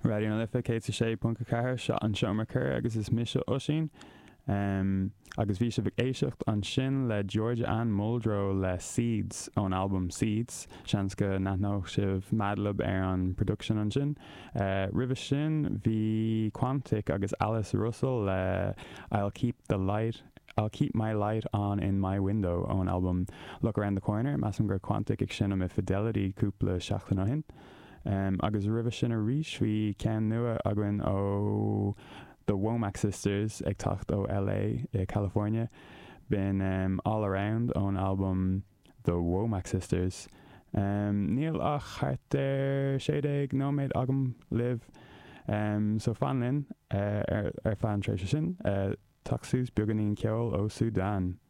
Raidió na Life 106.4, seo an Seomra Corr agus is mise Oisín. Agus bhí sibh ag éisteacht ansin le Georgia Anne Muldrow le Seeds ón albam Seeds. Seans go n-aithneodh sibh Madlib ar an production ansin. Roimhe sin bhí Quantic agus Alice Russell le I'll Keep the Light, I'll Keep My Light On In My Window ón albam Look Around the Corner. Measaim go raibh Quantic ag seinm i Fidelity cúpla seachtain ó shin. Agus roimhe sin arís bhí ceann nua againn ó The Womack Sisters ag teacht ó LA i California. B'in All Around ón albam The Womack Sisters. Níl ach thart ar 16 nóiméad agam libh so fan linn ar feadh an tréimhse sin. Teacht suas beagáinín ceoil ó Sudan.